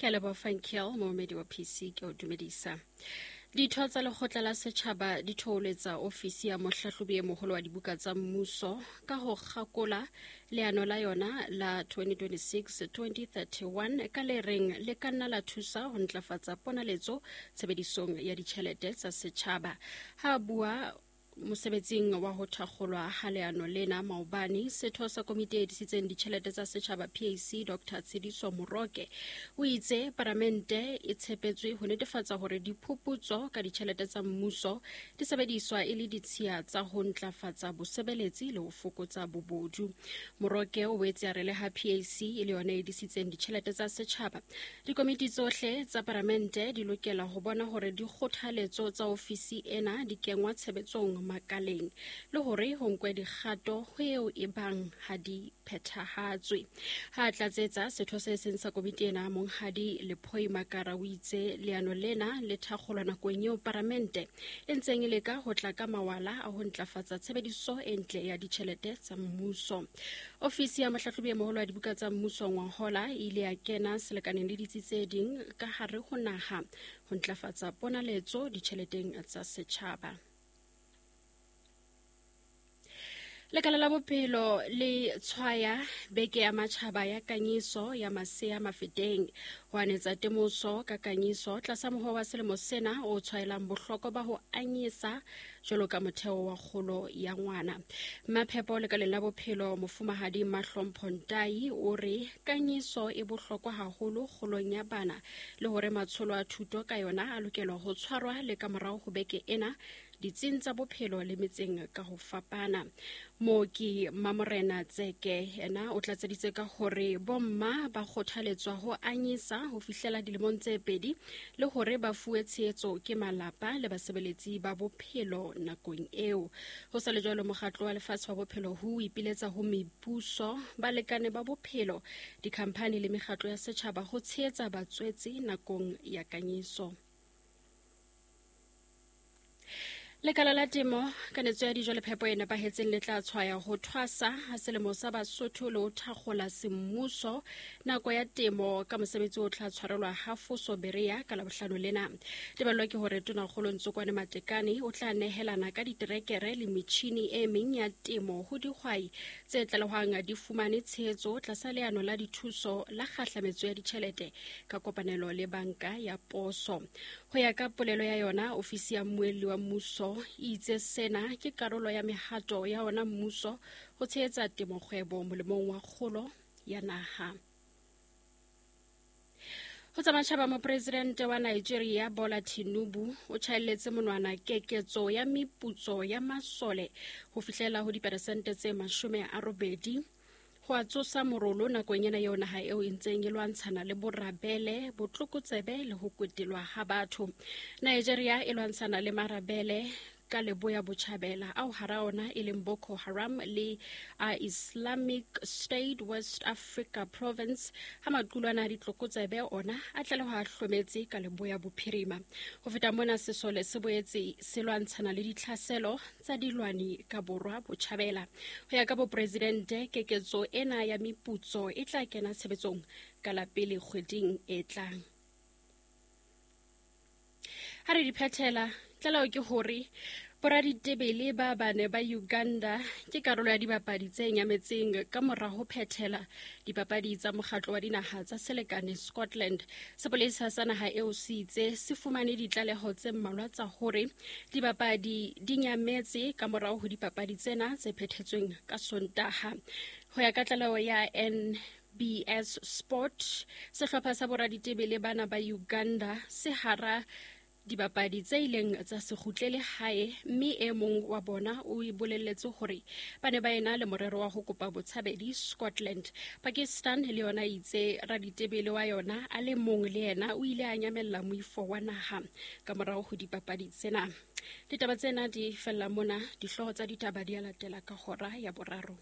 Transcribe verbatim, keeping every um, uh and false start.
Ke a leboha Fankiel, momamedi wa P C, ke o dumedisa. Ditho tsa lekgotla la setjhaba di thoholetsa ofisi ya mohlahlobi e moholo wa dibuka tsa mmuso ka ho kgakola leano la yona la twenty twenty-six twenty thirty-one ka le reng le ka nna la thusa ho ntlafatsa ponaletso tshebedisong ya ditjhelete tsa setjhaba. Ha bua mosebetsing wa ho thakgolwa ha leano lena maobane, setho sa komiti e disitseng ditjhelete tsa setjhaba P A C Doctor Tshidiso Moroke o itse paramente e tshepetswe ho netefatsa hore diphuputso ka ditjhelete tsa mmuso di sebediswa e le ditshiya tsa ho ntlafatsa bosebeletsi le ho fokotsa bobodu. Moroke o boetse a re le ha P A C e le yona e disitseng ditjhelete tsa setjhaba, dikomiti tsohle tsa paramente di lokela ho bona hore dikgothaletso tsa ofisi ena di kengwa tshebetsong makaleng le hore ho nkwe dikgato ho eo e bang ha di phethahatswe. Ha tlatsetsa, setho se seng sa komiti ena Monghadi Lephoi Makara o itse leano lena le thakgolwa nakong eo paramente e ntseng e leka ho tla ka mawala a ho ntlafatsa tshebediso e ntle ya ditjhelete tsa mmuso. Ofisi ya mohlahlobi e moholo wa dibuka tsa mmuso ngwahola e ile ya kena selekaneng le ditsi tse ding ka hare ho naha ho ntlafatsa ponaletso ditjheleteng tsa setjhaba. Lekala la bophelo le tshwaya beke ya matjhaba ya kanyiso ya masea mafeteng ho anetsa temoso ka kanyiso tlasa moho wa selemo sena o tshwaelang bohlokwa ba ho anyesa jwalo ka motheo wa kgolo ya ngwana. Maphepo lekaleng la bophelo mofumahadi Mahlompho Ntai o re kanyiso e bohlokwa haholo kgolong ya bana le hore matsholo a thuto ka yona a lokelwa ho tshwarwa le ka morao ho beke ena ditsing tsa bophelo le metseng ka ho fapana. Mooki Mamorena Tseke yena o tlatseditse ka hore bomma ba kgothaletswa ho anyesa ho fihlela dilemong tse pedi le hore ba fuwe tshehetso ke malapa le basebeletsi ba bophelo nakong eo. Ho sa le jwalo, mokgatlo wa lefatshe wa bophelo ho ipiletsa ho mebuso, balekane ba bophelo, dikhamphani le mekgatlo ya setjhaba ho tshehetsa batswetse nakong ya kanyiso. Lekala la temo, kanetso ya dijo le phepo e nepahetseng le tla tshwaya ho thwasa ha selemo sa Basotho le ho thakgola semmuso nako ya temo ka mosebetsi o tla tshwarelwa ha Foso Berea ka Labohlano lena. Tebello ke hore Tonakgolo Ntsokwane Matekane o tla nehelana ka diterekere le metjhini e meng ya temo ho dihwai tse tlalehwang di fumane tshehetso tlasa leano la dithuso la kgahlametso ya ditjhelete ka kopanelo le banka ya poso. Ho ya ka polelo ya yona, ofisi ya mmuelli wa mmuso itse sena ke karolo ya mehato ya ona mmuso ho tshehetsa temokgwebo molemong wa kgolo ya naha. Ho tsa matjhaba, mopresidente wa Nigeria Bola Tinubu o tjhaelletse monwana keketso ya meputso ya masole ho fihlela ho diperesente tse mashome a robedi ho a tsosa morolo nakong ena eo naha eo e ntseng e lwantshana le borabele, botlokotsebe le ho kwetelwa ha batho. Nigeria e lwantshana le marabele ka leboya botjhabela ao hara ona e leng Boko Haram le a Islamic State West Africa Province, ha maqulwana a ditlokotsebe ona a tlalehwa a hlometse ka leboya bophirima. Ho feta mona, sesole se boetse se lwantshana le ditlhaselo tsa dilwani ka borwa botjhabela. Ho ya ka bopresidente, keketso ena ya meputso e tla kena tshebetsong ka la pele kgweding e tlang. Ha re di phethela, tlaleho ke hore boraditebele ba bane ba Uganda ke karolo ya dibapadi tse nyametseng ka mora ho phethela dipapadi tsa mokgatlo wa dinaha tsa selekane Scotland. Sepolesa sa naha eo se itse se fumane ditlaleho tse mmalwa tsa hore dibapadi di nyametse ka morao ho dipapadi tsena tse phethetsweng ka Sontaha. Ho ya ka tlaleho ya N B S Sport, sehlopha sa boraditebele bana ba Uganda se hara dibapadi tse ileng tsa se kgutlele hae, mme e mong wa bona o bolelletse hore ba ne ba ena le morero wa ho kopa botshabedi Scotland. Pakistan le yona itse raditebele wa yona a le mong le yena o ile a nyamella moifo wa naha ka morao ho dipapadi tsena. Ditaba tsena di fella mona, dihlooho tsa ditaba di a latela ka hora ya boraro.